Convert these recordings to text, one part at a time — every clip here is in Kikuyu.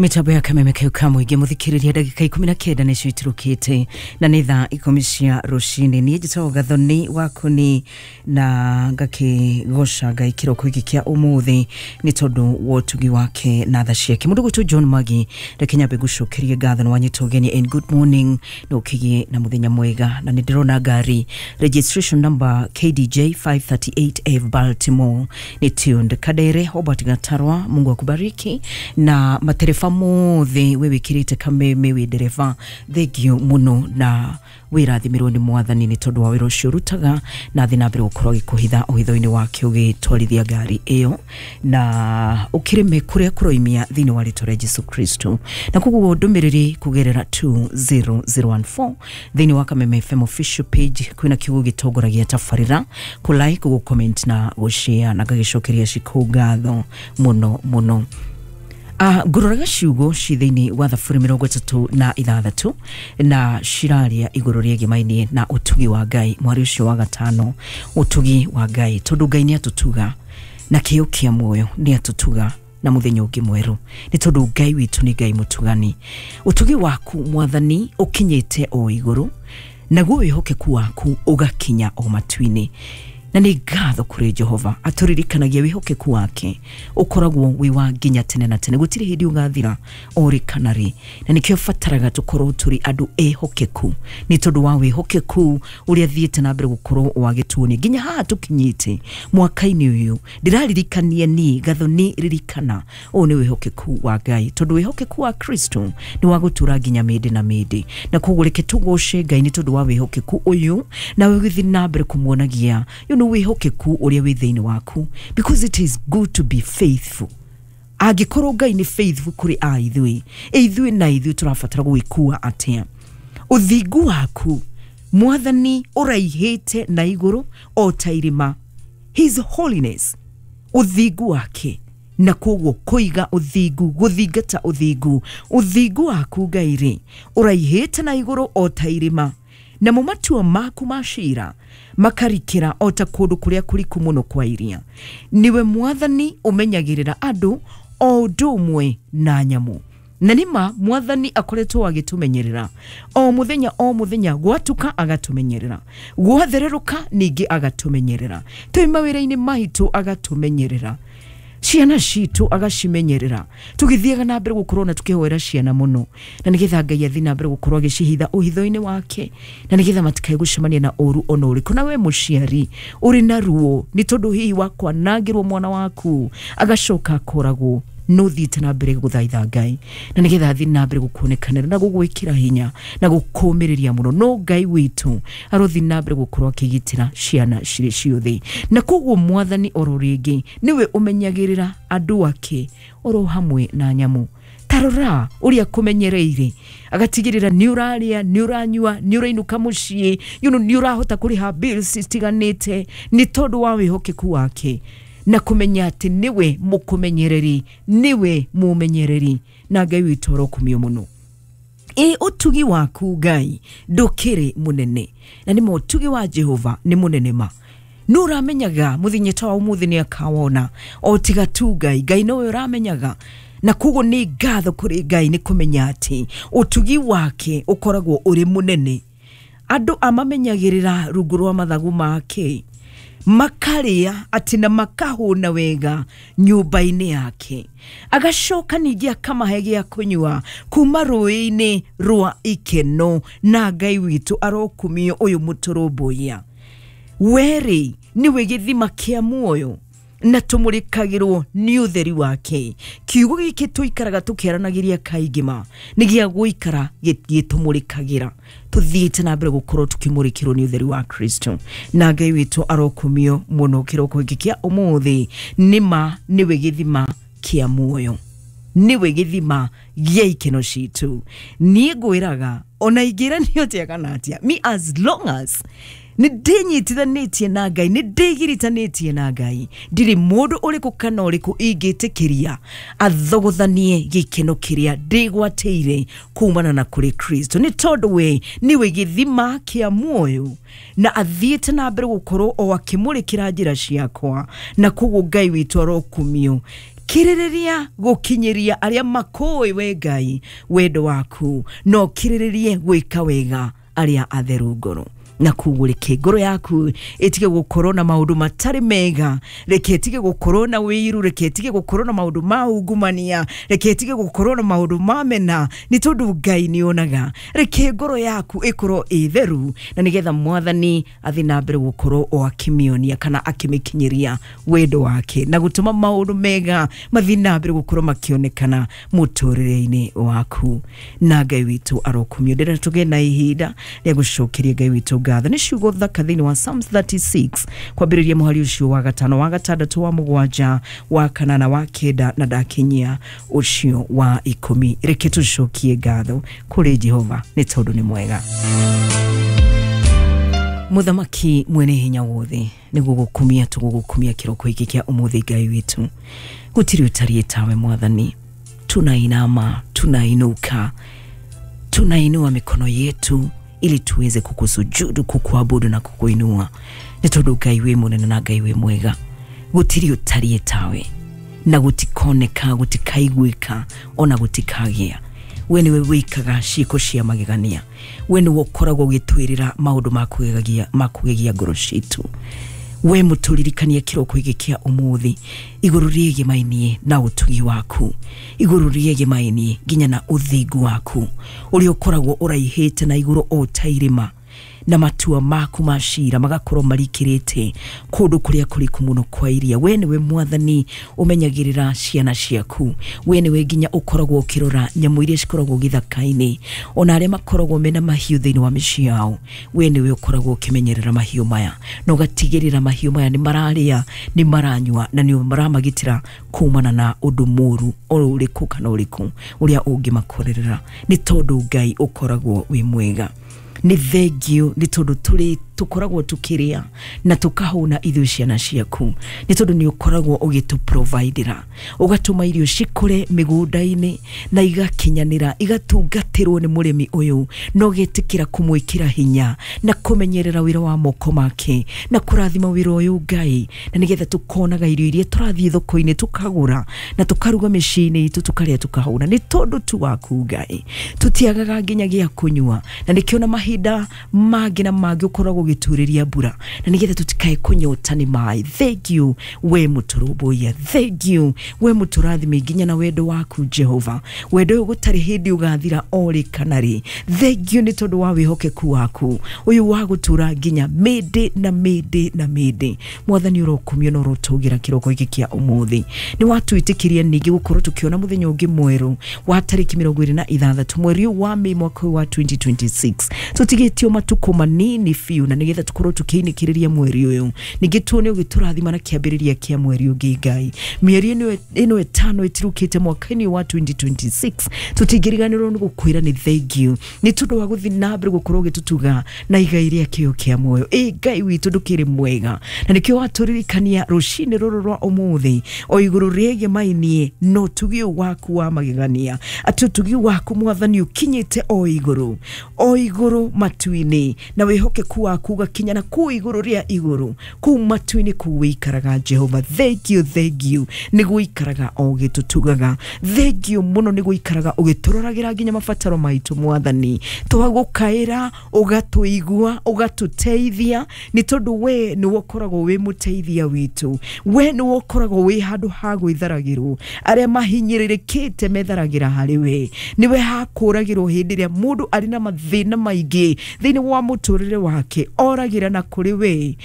Mitambo ya kameme kau ka mũingĩ mũthikĩrĩria ndagĩka 19 nĩcio itirũkĩte na nĩ thaa 10 cia rũcinĩ. Niĩ njĩtagwo Gathoni Wakũni na ngakĩgoca Ngai kĩroko gĩkĩ kĩa ũmũthĩ nĩ tondũ wa ũtugi wake na tha ciake. Mũndũ gwitũ John Magi, reke nyambe ngũcokerie ngatho nĩ wanyita ũgeni and good morning na ũkĩgĩe na mũthenya mwega. Na nĩ ndĩrona ngari registration number KDJ 538F Baltimore nĩ tuned. Kadere Hobart Gatarwa, Mungu akubariki. Na matereba mothe we wikirite kameme wi ndereba, thengio muno na wirathimirwo ni mwathani ni tondu wa wira ucio urutaga na thi na mbere gukorwo agikuhitha uhitho-ini wake ugitwarithia ngari iyo na ukirime kuria kuroimia thiini wa ritwa ria Jesu Kristo. Na koguo ndumiriri kugerera 20014 thiini wa Kameme FM official page kwina kiugo gitongoragia tabarira ku like, gu comment na gu share, na ngagicokeria ciku ngatho muno muno. Ngũroraga ciugo ci thĩinĩ wa thaburi 36 na ciraria igũrũ rĩegemainie na ũtugi wa Ngai. Mwari ũcio wa gatano, ũtugi wa Ngai, tondũ Ngai nĩ atũtuga na kĩo kĩa muoyo, nĩ atũtuga na mũthenya ũngĩ mwerũ, nĩ tondũ Ngai witũ nĩ Ngai mũtugani. Ũtugi waku mwathani ũkinyĩte o igũrũ, naguo wĩhokeku waku ũgakinya o matu-inĩ. Na nĩ ngatho kũrĩ Jehova atũririkanagia wĩhokeku wake ũkoragwo wĩ wa nginya tene na tene, gũtirĩ hĩndĩ ũgathira o rĩ kana rĩ. Na nĩkĩo bataraga tũkorwo tũrĩ andũ ehokeku, nĩ tondũ wa wĩhokeku ũrĩa thiĩte na mbere gũkorwo wagĩtuonia nginya haha tũkinyĩte mwaka-inĩ ũyũ. Ndĩraririkania niĩ Gathoni, ririkana ũyũ nĩ wĩhokeku wa Ngai, tondũ wĩhokeku wa Kristo nĩ wa gũtũra nginya mĩndĩ na mĩndĩ. Na koguo reke tũgoce Ngai nĩ tondũ wa wĩhokeku ũyũ, nawe ũgĩthiĩ na mbere kũmuonagia wĩhokeku ũrĩa wĩ thĩinĩ waku, because it is good to be faithful. Angĩkorwo Ngai nĩ faithful kũrĩ a ithuĩ, ithuĩ na ithuĩ tũrabatara gwĩkua atĩa? Ũthingu waku mwathani ũraihĩte na igũrũ o ta irĩma, his holiness, ũthingu wake, na koguo kũiga ũthingu, gũthingata ũthingu, ũthingu waku Ngai rĩ ũraihĩte na igũrũ o ta irĩma, namo matua maku ma cira makarikĩra o ta kũndũ kũrĩa kũriku mũno kwa iria. Niwe mwathani ũmenyagĩrĩra andũ o ũndũ ũmwe na nyamũ. Na nĩma mwathani akoretwo agĩtũmenyerera o mũthenya o mũthenya, gwatuka agatũmenyerera, gwathererũka ningĩ agatũmenyerera, twĩ mawĩra-inĩ maitũ agatũmenyerera, ciana citũ agacimenyerera, tũgĩthiaga na mbere gũkorwo na tũkĩhoera ciana mũno, na nĩgetha Ngai athiĩ na mbere gũkorwo agĩcihitha ũhitho-inĩ wake, na nĩgetha matikae gũcemania na ũru ona ũrĩkũ. Na we mũciari ũrĩ na ruo nĩ tondũ hihi wa kwanangĩrwo mwana waku agacoka akoragwo, no thiĩte na mbere gũthaitha Ngai na nĩgetha athiĩ na mbere gũkuonekanĩra na gũgwĩkĩra hinya na gũkũmĩrĩria mũno. No Ngai witũ arothiĩ na mbere gũkorwo akĩgitĩra ciana cirĩ ciothe. Na koguo mwathani oro rĩngĩ nĩwe ũmenyagĩrĩra andũ ake oro hamwe na nyamũ. Tarora ũrĩa kũmenyereire, agatigĩrĩra nĩ ũrarĩa, nĩ ũranyua, nĩ ũrainũka mũciĩ, nĩ ũrahota kũrĩha bills citiganĩte nĩ tondũ wa wĩhokeku wake, na kũmenya atĩ nĩwe mũkũmenyereri, nĩwe mũmenyereri, na Ngai witũ arokumio mũno. Ĩ ũtugi waku Ngai ndũkĩrĩ mũnene, na nĩ ũtugi wa Jehova nĩ mũnene ma. Nũ ũramenyaga mũthenya ta wa ũmũthĩ nĩ akawona, o tiga tu Ngai. Ngai nowe ũramenyaga. Na koguo nĩ ngatho kũrĩ Ngai nĩ kũmenya atĩ ũtugi wake ũkoragwo ũrĩ mũnene. Andũ amamenyagĩrĩra rungu rwa mathagu make, makarĩa atĩ na makahũna wega nyũmba-inĩ yake, agacoka ningĩ akamahe gĩa kũnyua kuma rũĩ-inĩ rwa ikeno. Na Ngai witũ arokumio ũyũ mũtũrũmbũiya. Werĩ nĩwe gĩthima kĩa muoyo, na tũmũrĩkagĩrwo nĩ ũtheri wake. Kiugo gĩkĩ tũikaraga tũkĩaranagĩria kaingĩ ma nĩ gĩa gũikara gĩtũmũrĩkagĩra, tũthiĩte na mbere gũkorwo tũkĩmũrĩkĩrwo nĩ ũtheri wa Kristo. Na Ngai witũ arokumio mũno kĩroko gĩkĩ kĩa ũmũthĩ. Nĩma nĩwe gĩthima kĩa muoyo, nĩwe gĩthima gĩa ikeno citũ. Niĩ ngwĩraga ona ingĩranio atĩa kana atĩa, me as long as nĩ ndĩnyitithanĩtie na Ngai, nĩ ndĩgiritanĩtie na Ngai, ndirĩ mũndũ ũrĩkũ kana ũrĩkũ ingĩtĩkĩria athogothanie gĩkeno kĩrĩa ndĩgwatĩire kumana na kũrĩ Kristo, nĩ tondũ we nĩwe gĩthima kĩa muoyo, na athiĩte na mbere gũkorwo o akĩmũrĩkĩra njĩra ciakwa. Na koguo Ngai witũ arokumio. Kirĩrĩria gũkinyĩria arĩa makũĩ we Ngai wendo waku, no kirĩrĩrie gwĩka wega arĩa atheru ngoro. Na koguo reke ngoro yaku ĩtige gũkorwo na maũndũ matarĩ mega, reke ĩtige gũkorwo na wĩiru, reke ĩtige gũkorwo na maũndũ ma ungumania, reke ĩtige gũkorwo na maũndũ ma mena, nĩ tondũ Ngai nĩ onaga. Reke ngoro yaku ĩkorwo ĩ theru, na nĩgetha Mwathani athiĩ na mbere gũkorwo o akĩmĩonia kana akĩmĩkinyĩria wendo wake, na gũtũma maũndũ mega mathiĩ na mbere gũkorwo makĩonekana mũtũrĩre-inĩ waku. Na Ngai witũ arokumio. Ndĩrenda tũgĩe na ihinda rĩa gũcokeria Ngai witũ ngatho. Nĩ ciugo thaka thĩinĩ wa Psalms 36 kwambĩrĩria mũhari ũcio wa 5, wa 6, wa 7, wa 8, wa 9 na ndakinyia ũcio wa 10. Reke tũcokie ngatho kũrĩ Jehova nĩ tondũ nĩ mwega. Mũthamaki mwene hinya wothe, nĩguo gũkumia tũgũgũkumia kĩroko gĩkĩ kĩa ũmũthĩ. Ngai witũ, gũtirĩ ũtariĩ tawe Mwathani. Tunainama, tunainuka, tunainua mikono yetu ili tuweze kukusujudu, kukuabudu na kukuinua, nĩ tondũ Ngai wĩ mũnene na Ngai wĩ mwega. Gũtirĩ ũtariĩ tawe, na gũtikoneka, gũtikaiguĩka, ona gũtikagĩa. We nĩwe wĩkaga ciĩko cia magegania, we nĩwe ũkoragwo ũgĩtwĩrĩra maũndũ ma kũgegia ngoro citũ. We mũtũririkanie kĩroko gĩkĩ kĩa ũmũthĩ igũrũ rĩegemainie na ũtugi waku, igũrũ rĩegemainie nginya na ũthingu waku ũrĩa ũkoragwo ũraihĩte na igũrũ o ta irĩma, na matua maku ma cira magakorwo marikĩrĩte kũndũ kũrĩa kũriku mũno kwa iria. We nĩwe Mwathani ũmenyagĩrĩra ciana ciaku, we nĩwe nginya ũkoragwo ũkĩrora nyamũ iria cikoragwo gĩthaka-inĩ, ona arĩa makoragwo mena mahiũ thĩinĩ wa mĩciĩ yao. We nĩwe ũkoragwo ũkĩmenyerera mahiũ maya na ũgatigĩrĩra mahiũ maya nĩ mararĩa, nĩ maranyua, na nĩ maramagitĩra kumana na ũndũ mũru o ũrĩkũ kana ũrĩkũ ũrĩa ũngĩmakorerera, nĩ tondũ Ngai ũkoragwo wĩ mwega. Nĩ thengio nĩ tondũ tũkoragwo tũkĩrĩa na tũkahũna ithuĩ ciana ciaku, nĩ tondũ nĩ ũkoragwo ũgĩtũprovidera, ũgatũma irio cikũre mĩgũnda-inĩ na igakinyanĩra, igatungatĩrwo nĩ mũrĩmi ũyũ, na ũgetĩkĩra kũmwĩkĩra hinya na kũmenyerera wĩra wa moko make na kũrathima wĩra ũyũ Ngai, na nĩgetha tũkonaga irio iria tũrathiĩ thoko-inĩ tũkagũra na tũkaruga mĩciĩ-inĩ itũ tũkarĩa tũkahũna, nĩ tondũ tu waku Ngai. Tũtiagaga nginya gĩa kũnyua, na nĩkĩo na mahinda mangĩ na mangĩ ũkoragwo ũgĩturĩria mbura, na nĩgetha tũtikae kũnyota nĩ maĩ. Thank you we mũtũrũmbũiya, thank you we mũtũrathime nginya na wendo waku Jehova, wendo ũyũ gũtarĩ hĩndĩ ũgathira o rĩ kana rĩ. Thank you nĩ tondũ wa wĩhokeku waku ũyũ wa gũtũra nginya mĩndĩ na mĩndĩ na mĩndĩ. Mwathani ũrokumio na ũrotũgĩra kĩroko gĩkĩ kĩa ũmũthĩ. Nĩ watwĩtĩkĩria ningĩ gũkorwo tũkĩona mũthenya ũngĩ mwerũ wa tarĩki 26 mweri ũyũ wa Mĩĩ mwaka ũyũ wa 2026. Tũtigĩtio matukũ manini biũ, na nĩgetha tũkorwo tũkĩinĩkĩrĩria mweri ũyũ, ningĩ tuone ũgĩtũrathima na kĩambĩrĩria kĩa mweri ũngĩ Ngai. Mĩeri ĩno 5 ĩtirũkĩte mwaka-inĩ wa 2026, tũtingĩriganĩrwo nĩ gũkwĩra nĩ thank you nĩ tondũ wa gũthiĩ na mbere gũkorwo ũgĩtũtuga na igai rĩa kĩo kĩa muoyo. Ĩ Ngai witũ ndũkĩrĩ mwega, na nĩkĩo watũririkania rũcinĩ rũrũ rwa ũmũthĩ o igũrũ rĩegemainie na ũtugi ũyũ waku wa magegania, atĩ ũtugi waku Mwathani ũkinyĩte o igũrũ, o igũrũ matu-inĩ, na wĩhokeku waku ũgakinya na kũu igũrũ rĩa igũrũ, kũu matu-inĩ kũu wĩikaraga Jehova. Thank you, thank you nĩ gũikaraga o ũgĩtũtugaga. Thank you mũno nĩ gũikaraga ũgĩtũroragĩra nginya mabataro maitũ Mwathani. Twagũkaĩra ũgatũigua, ũgatũteithia, nĩ tondũ we nĩwe ũkoragwo wĩ mũteithia witũ, we nĩwe ũkoragwo wĩ handũ ha gwĩtharagĩrwo. Arĩa mahinyĩrĩrĩkĩte metharagĩra harĩ we, nĩwe hakũragĩrwo hĩndĩ ĩrĩa mũndũ arĩ na mathĩna maingĩ thĩinĩ wa mũtũrĩre wake, oragĩra na kũrĩ we,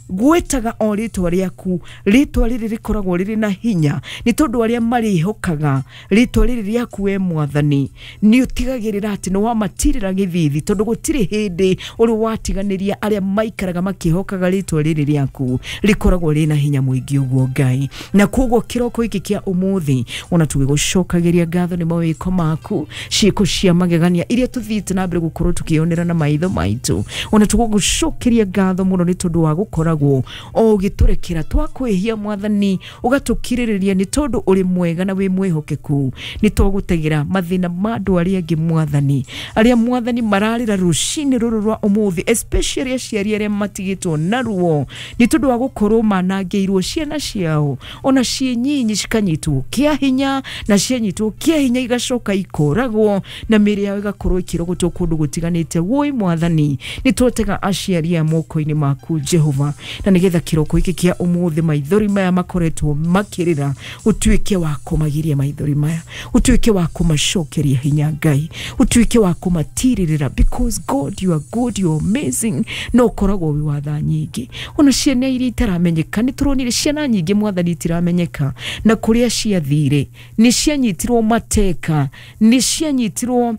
gwĩtaga o rĩtwa rĩaku, rĩtwa rĩrĩ rĩkoragwo rĩrĩ na hinya, nĩ tondũ arĩa marĩhokaga rĩtwa rĩrĩ rĩaku we Mwathani, nĩ ũtigagĩrĩra atĩ nĩ wamatirĩra gĩthithi, tondũ gũtirĩ hĩndĩ ũrĩ watiganĩria arĩa maikaraga makĩhokaga rĩtwa rĩrĩ rĩaku rĩkoragwo rĩna hinya mũingĩ ũguo Ngai. Na koguo kĩroko gĩkĩ kĩa ũmũthĩ ona tũgĩgũcokagĩria ngatho nĩ mawĩko maku, ciĩko cia magegania iria tũthiĩte na mbere gũkorwo tũkĩ Tũkĩonera na maitho maitũ. Ona tũgũgũcokeria ngatho mũno nĩ tondũ wa gũkoragwo o ũgĩtũrekera twakwĩhia Mwathani, ũgatũkirĩrĩria nĩ tondũ ũrĩ mwega na wĩ mwĩhokeku. Nĩ twagũtegera mathĩna ma andũ arĩa angĩ Mwathani, arĩa Mwathani mararĩra rũcinĩ rũrũ rwa ũmũthĩ, especially aciari arĩa matigĩtwo na ruo nĩ tondũ wa gũkorwo manangĩirwo ciana ciao ona ciĩ nyinyi cikanyitwo kĩa hinya, na cianyitwo kĩa hinya igacoka ikoragwo na mĩĩrĩ yao ĩgakorwo ĩkĩrogotwo kũndũ gũtiganĩte. Woi Mwathani, nĩ twatega aciari aya moko-inĩ maku Jehova, na nĩgetha kĩroko gĩkĩ kĩa ũmũthĩ maithori maya makoretwo makĩrĩra ũtuĩke wa kũmagiria maithori maya, ũtuĩke wa kũmacokeria hinya Ngai, ũtuĩke wa kũmatirĩrĩra, because God you are good, you are amazing, no ũkoragwo wĩ wa tha nyingĩ. Ona ciana iria itaramenyeka, nĩ tũronire ciana nyingĩ Mwathani itiramenyeka na kũrĩa ciathire, nĩ cianyitirwo mateka, nĩ cianyitirwo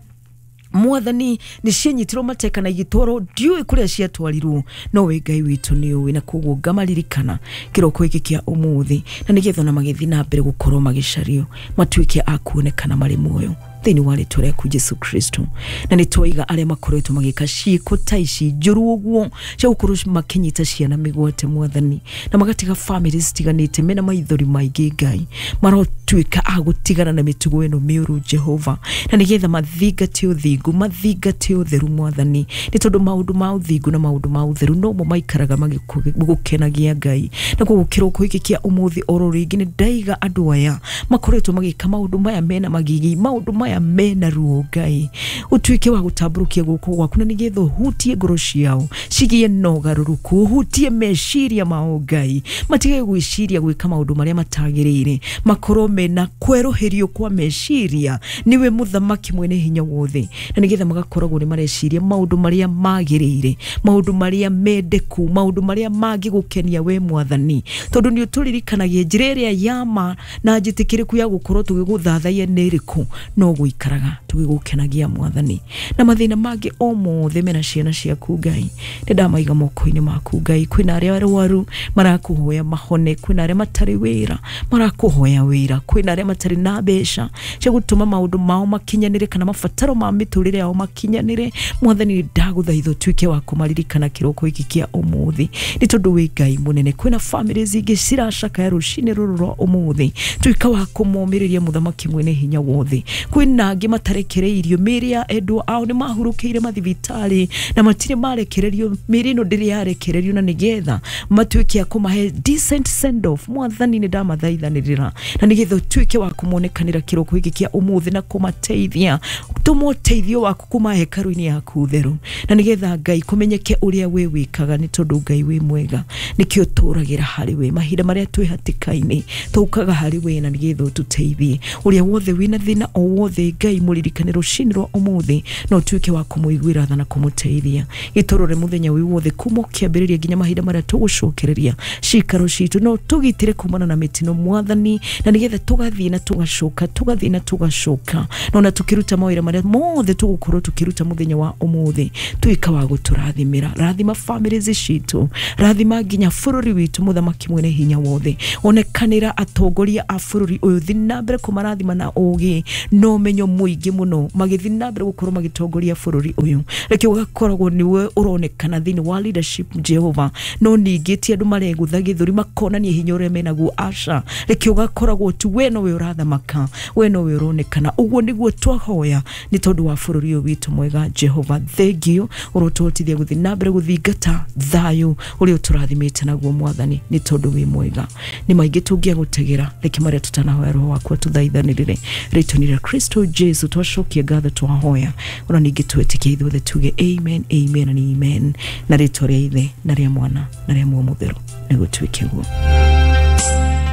Mwathani, nĩ cianyitirwo mateka na igĩtwarwo ndiũĩ kũrĩa ciatwarirwo, no we Ngai witũ nĩ ũĩ, na koguo ngamaririkana kĩroko gĩkĩ kĩa ũmũthĩ, na nĩgetha ona magĩthiĩ na mbere gũkorwo magĩcario matuĩke a kuonekana marĩ muoyo thĩinĩ wa rĩtwa rĩaku Jesu Kristo. Na nĩ twaiga arĩa makoretwo magĩka ciĩko ta ici njũru ũguo cia gũkorwo makĩnyita ciana mĩgwate Mwathani, na magatiga famĩlĩ citiganĩte mena maithori maingĩ Ngai, marotuĩka a gũtigana na mĩtugo ĩno mĩũru Jehova, na nĩgetha mathingate ũthingu, mathingate ũtheru Mwathani, nĩ tondũ maũndũ ma ũthingu na maũndũ ma ũtheru nomo maikaraga magĩgũkenagia Ngai. Na koguo kĩroko gĩkĩ kĩa ũmũthĩ oro rĩngĩ nĩ ndaiga andũ aya makoretwo magĩka maũndũ maya mena magigi, maũndũ maya mena ruo Ngai, ũtuĩke wa gũtambũrũkia guoko gwaku na nĩgetha ũhutie ngoro ciao cigĩe na ũgarũrũku, ũhutie meciria mao Ngai, matige gwĩciria gwĩka maũndũ marĩa matagĩrĩire, makorwo mena kwerũhĩrio kwa meciria niwe mũthamaki mwene hinya wothe, na nĩgetha magakoragwo nĩ mareciria maũndũ marĩa magĩrĩire, maũndũ marĩa mendeku, maũndũ marĩa mangĩgũkenia we Mwathani, tondũ nĩ ũtũririkanagia njĩra ĩrĩa ya ma na njĩtĩkĩrĩku ya gũkorwo tũgĩgũthathaiya nĩ ĩrĩkũ, no gũikaraga tũgĩgũkenagia Mwathani. Na mathĩna mangĩ o mothe mena ciana ciaku Ngai, nĩ ndamaiga moko-inĩ maku Ngai. Kwĩna arĩa arwaru marakũhoya mahone, kwĩna arĩa matarĩ wĩra marakũhoya wĩra, kwĩna arĩa matarĩ na mbeca cia gũtũma maũndũ mao makinyanĩre kana mabataro ma mĩtũrĩre yao makinyanĩre. Mwathani nĩ ndagũthaitha ũtuĩke wa kũmaririkana kĩroko gĩkĩ kĩa ũmũthĩ, nĩ tondũ wĩ Ngai mũnene. Kwĩna famĩlĩ ingĩ ciracakaya rũcinĩ rũrũ rwa ũmũthĩ, tuĩka wa kũmomĩrĩria mũthamaki mwene hinya wothe. Kwĩna angĩ matarekereirio mĩĩrĩ ya endwa ao nĩ mahurũkĩire mathibitarĩ na matirĩ marekererio, mĩĩrĩ ĩno ndĩrĩ yarekererio, na nĩgetha matuĩke a kũmahe decent send off. Mwathani nĩ ndamathaithanĩrĩra na nĩgetha ũtuĩke wa kũmonekanĩra kĩroko gĩkĩ kĩa ũmũthĩ na kũmateithia, tũma ũteithio waku kuma hekarũ-inĩ yaku theru, na nĩgetha Ngai kũmenyeke ũrĩa we wĩkaga, nĩ tondũ Ngai wĩ mwega, nĩkĩo tũragĩra harĩ we mahinda marĩa twĩ hatĩka-inĩ, tũkaga harĩ we na nĩgetha ũtũteithie. Ũrĩa wothe wĩna thĩna o wothe Ngai mũririkane rũcinĩ rwa ũmũthĩ, na ũtuĩke wa kũmũiguĩra tha na kũmũteithia. Gĩtũrore mũthenya wĩ wothe kuma ũkĩambĩrĩria nginya mahinda marĩa tũgũcokereria cikaro citũ, no tũgitĩre kumana na mĩtino Mwathani, na nĩgetha tũgathiĩ na tũgacoka, tũgathiĩ na tũgacoka, na ona tũkĩruta mawĩra marĩa mothe tũgũkorwo tũkĩruta mũthenya wa ũmũthĩ, tuĩka wa gũtũrathimĩra. Rathima famĩlĩ citũ, rathima nginya bũrũri witũ mũthamaki mwene hinya wothe, onekanĩra atongoria a bũrũri ũyũ, thiĩ na mbere kũmarathima na ũgĩ na ũmenyo mũingĩ mũno, magĩthiĩ na mbere gũkorwo magĩtongoria bũrũri ũyũ. Reke ũgakoragwo nĩwe ũronekana thĩinĩ wa leadership Jehova, no ningĩ ti andũ maregũtha gĩthũri makonania hinya ũrĩa menaguo, aca. Reke ũgakoragwo tu we nowe ũrathamaka, we nowe ũronekana. Ũguo nĩguo twahoya nĩ tondũ wa bũrũri ũyũ witũ mwega Jehova. Thank you ũrotũhotithia gũthiĩ na mbere gũthingata thayũ ũrĩa ũtũrathimĩte naguo Mwathani, nĩ tondũ wĩ mwega. Nĩ maingĩ tũngĩagũtegera, reke marĩa tũtanahoya roho waku atũthaithanĩrĩre rĩtwa-inĩ rĩa Kristo Jesu twacokia ngatho twahoya, ona ningĩ twĩtĩkie ithuothe tuge amen, amen and amen, na rĩtwa rĩa Ithe na rĩa Mwana na rĩa Muoyo Mũtheru nĩgũtuĩke guo.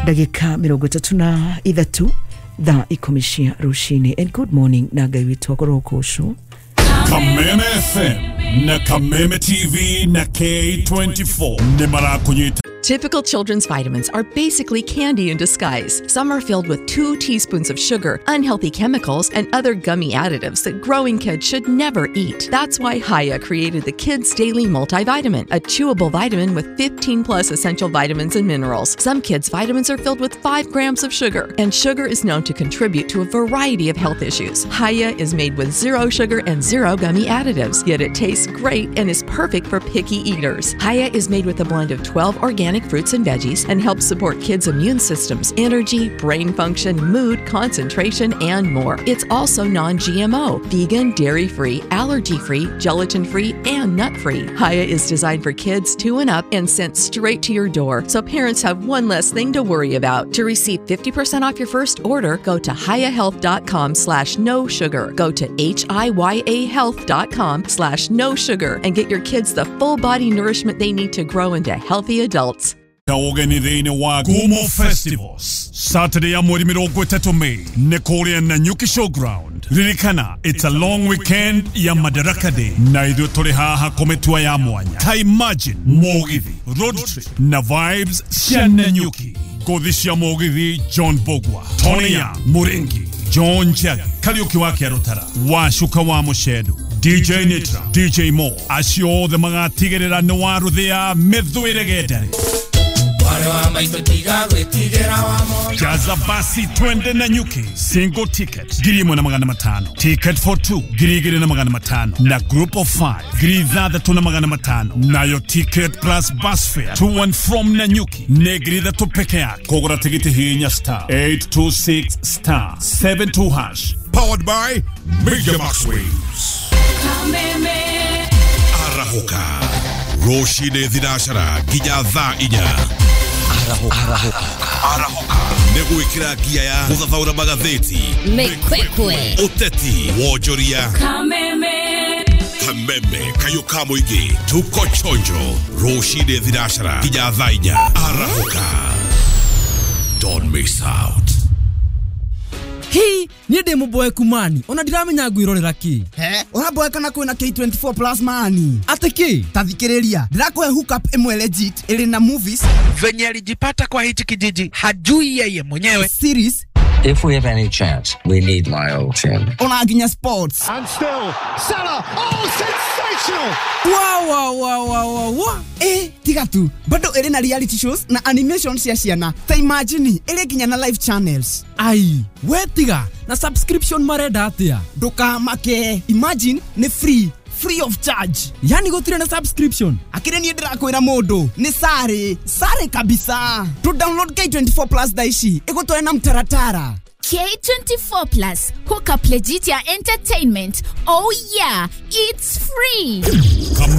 Ndagĩka 33 thaa 10 cia rũcinĩ. And good morning na Ngai witũ akorwo ũcio. Kameme FM na Kameme TV na K24 nĩ marakũnyita. Typical children's vitamins are basically candy in disguise. Some are filled with 2 teaspoons of sugar, unhealthy chemicals, and other gummy additives that growing kids should never eat. That's why Hiya created the Kids Daily Multivitamin, a chewable vitamin with 15 plus essential vitamins and minerals. Some kids' vitamins are filled with 5 grams of sugar, and sugar is known to contribute to a variety of health issues. Hiya is made with 0 sugar and 0 gummy additives, yet it tastes great and is perfect for picky eaters. Hiya is made with a blend of 12 organic fruits and veggies and helps support kids' immune systems, energy, brain function, mood, concentration, and more. It's also non-GMO, vegan, dairy-free, allergy-free, gelatin-free, and nut-free. Hiya is designed for kids 2 and up and sent straight to your door, so parents have one less thing to worry about. To receive 50% off your first order, go to hiyahealth.com/no sugar. Go to hiyahealth.com/no sugar and get your kids the full body nourishment they need to grow into healthy adults. Ũgeni thĩinĩ wa Gumo Festivals Saturday ya mweri 30 May nĩ kũrĩa Nanyuki Showground. Ririkana, it's a long weekend ya Madaraka Day na ithuĩ tũrĩ haha kũmĩtua ya mwanya. Ta imagine mũgithi, road trip na vibes cia Nanyuki. Ngũthi cia mũgithi John Bogwa, Tony Young, Muringi, John Njagi, Kariuki wa Kĩarũtara, Wacuka wa Mũcendu, DJ Nitra, DJ Mo, acio othe magatigĩrĩra nĩ waruthĩa mĩthwĩre gendere. Jaza basi twende Nanyuki. Single ticket 1,500, ticket for 2 2,500, na group of 5 6,500. Nayo ticket plus bus fare to and from Nanyuki nĩ 3,000 peke yake. Kũgũra tigiti hinya star 826 star 72 hash. Powered by Major Max Waves. Arahoka rũcinĩ thinacara nginya thaa 4. Arahoka nĩ gwĩkĩra ngia ya gũthathaũra magathĩti, Mĩkwekwe, ũteti, wonjoria, Kameme, kameme kayũ ka mũingĩ. Tuko chonjo rũcinĩ thinacara nginya thaa 4. Arahoka, don't miss out. Hii niĩ ndĩ mũboeku mani ona ndiramenya ngwĩrorera kĩ. He ũraboeka na kwĩna K24 plus mani atĩ kĩ? Ta thikĩrĩria, ndĩrakũhe hookup ĩmwe legit ĩrĩ na movies. Venye alijipata kwa hichi kijiji hajui yeye mwenyewe, series. If we have any chance, we need Lyle Chin. Ona nginya sports. And still Salah, oh sensational. Wow wow wow wow wow. Tiga tu, bado ĩrĩ na reality shows na animation cia ciana. Ta imagine ĩrĩ nginya na live channels. Ai, we tiga na subscription marenda atia? Ndũkamake, imagine nĩ free, free of charge. Yani gũtirĩ na subscription? Akĩrĩ niĩ ndĩrakwĩra mũndũ nĩ sare sare kabisa. To download K24 plus thaa ici ĩgũtware na mtaratara. K24 Plus, hook up legit ya entertainment. Oh yeah, it's free. Come